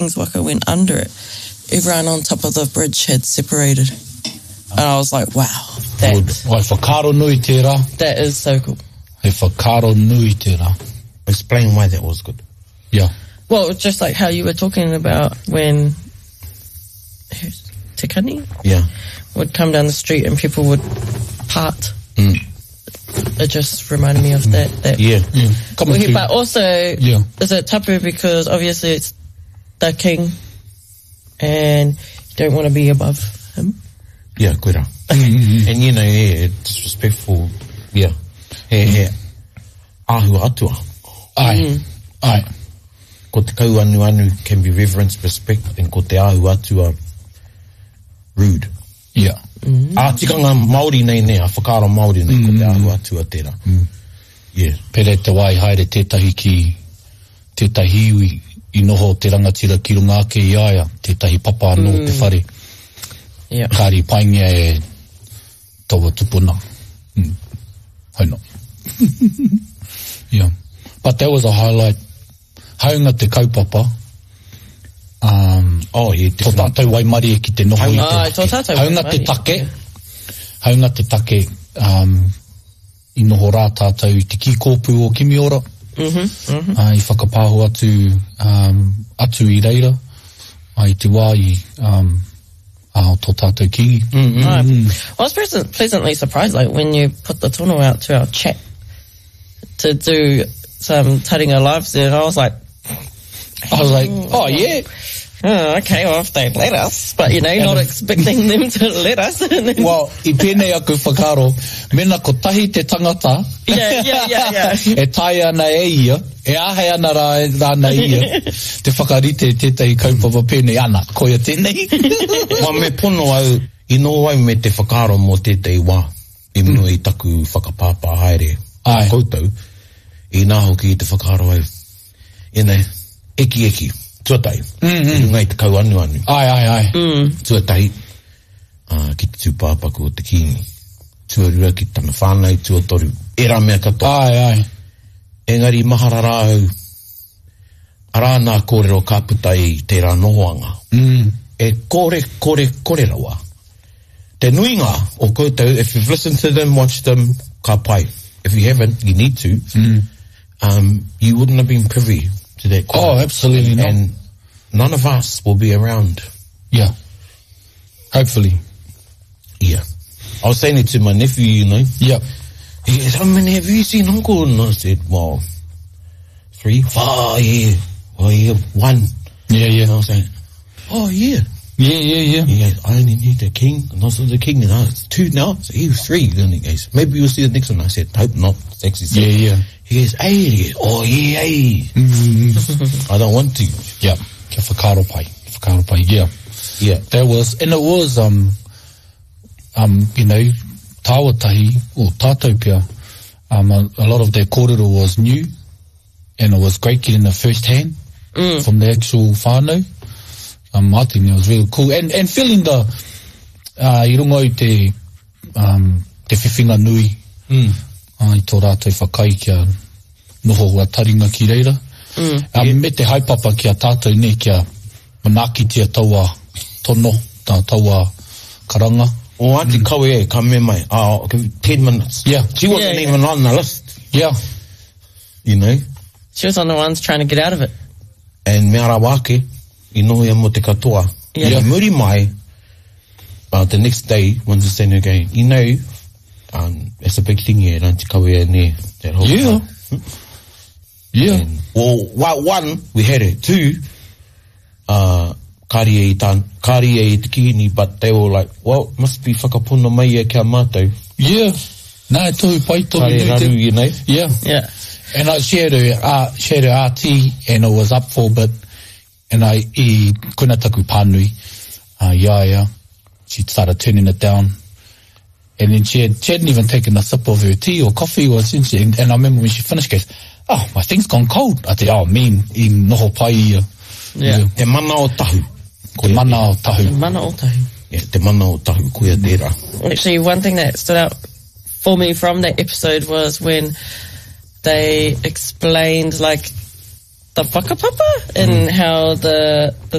King's Waka went under it, everyone on top of the bridge had separated. And I was like, wow, that. Good. Wai whakaaro nui tērā. That is so cool. He whakaaro nui tērā. Explain why that was good. Yeah. Well, just like how you were talking about when Te Kani? Yeah. Would come down the street and people would part. Mm. It just reminded me of mm. that. that yeah. yeah. Well, but also, yeah. is it tapu because obviously it's the king and you don't want to be above him. Yeah, koira. Mm-hmm. And you know, yeah, disrespectful, yeah. He, he, āhua atua. Ai, mm. ai. Ko te kauanuanu can be reverence, respect, and ko te āhua atua rude. Yeah. Mm. Ā tikanga Māori nei nei, a whakaaro Māori nei, mm. ko te mm. āhua atua tērā. Mm. Yeah. Pere te wā i haere tētahi ki tētahi iwi i noho te rangatira ki runga ake i a ia, tētahi papa anō mm. te whare. Yeah. Kāri paingia e taua tupuna. Mm. Haina. yeah. But that was a highlight. Haunga te kaupapa, um, oh, yeah, tō tātou waimarie ki te noho i te ah, tō tātou haunga te take, haunga te take, um, i noho rā tātou i te kīkōpū o Kimiora, mm -hmm, mm -hmm. Uh, i whakapāho atu, um, atu i reira, uh, i te wā i um, uh, tō tātou kīngi. Mm -hmm. mm -hmm. I was pleasant, pleasantly surprised like, when you put the tono out to our chat to do some taringa lives there, and I was like, I was like, oh yeah. Oh, okay, well, if they let us, but you know, not expecting them to let us. well, i pēnei aku whakaaro, mena kotahi te tangata yeah, yeah, yeah, yeah. e taea ana e ia, e āhei ana rā, rāna ia, te whakarite tētahi kaupapa pēnei, ana, koia tēnei. well, me pono au, i noho au me te whakaaro mō tētahi wā, i mua i taku whakapāpā haere Ai. koutou, inā hoki i te whakaaro au, you know, ekieki, tuatahi, mm -hmm. i runga i te kauanuanu. Ai, ai, ai. Mm. Tuatahi, uh, ki te tūpāpaku o te kīngi. Tuarua ki tana whānau, tuatoru, ērā mea katoa. Ai, ai. Engari mahara rā au, arā nā kōrero ka puta i tērā nohoanga. Mm. E kore, kore, kore rawa. Te nuinga o koutou, if you've listened to them, watched them, ka pai. If you haven't, you need to. Mm. Um, you wouldn't have been privy to that. Oh, absolutely not. And none of us will be around. Yeah. Hopefully. Yeah. I was saying it to my nephew, you know. Yeah. He goes, how many have you seen, uncle? And I said, well, three, four, yeah. Well, yeah, one. Yeah, yeah. And I was saying, oh, yeah. Yeah, yeah, yeah. He goes, I only need the king, and also the king, and I, it's two now, so he was three. Then he goes, maybe you'll see the next one. I said, hope not. It's actually Yeah, yeah. He goes, hey, he goes, oh, yeah, hey. Mm-hmm. I don't want to. Yeah. Kia whakaaro pai. Whakaaro pai, yeah. Yeah. That was, and it was, um, um, you know, tāua tahi, or tātou pia, um, a, a lot of their kōrero was new, and it was great getting the first hand mm. from the actual whānau. Um, I think it was really cool. And, and feeling the, uh, i runga i te, um, te whiwhinga nui, mm. uh, i tō rātou whakai kia noho a taringa ki reira. Mm. Um, yeah. Me te haepapa ki a tātou nei kia manaakitia taua tono, tā taua karanga. O Auntie mm. Kawe e, ka me mai, oh, 10 minutes. Yeah. She wasn't yeah, yeah. even on the list. Yeah. You know? She was on the ones trying to get out of it. And mea rawa ake, i noho ia mo te katoa. Yeah. Yeah. Muri mai, uh, the next day, when the saying again, you know, um, it's a big thing here at Auntie Kawea ne, that whole Yeah. time. Yeah. And, well, one, we had it. Two, uh, kāri e i tā, kāri e i te kīni, but they were like, well, must be whakapono mai ia kia mātou. Yeah. Nā, e tohu pai, tohu Kāre nui te- raru, you know. Yeah. Yeah. And I shared her, uh, shared her RT and it was up for a bit. And I, i koina taku pānui, uh, i a ia. She started turning it down. And then she, had, she hadn't even taken a sip of her tea or coffee or something. And, and I remember when she finished, she goes, oh, my thing's gone cold. I said, oh, man, i noho pai ia. Yeah. Te mana o tahu. Te mana o tahu. Mana o tahu. Yeah, te mana o tahu, koia tērā. Actually, one thing that stood out for me from that episode was when they explained like the whakapapa and how the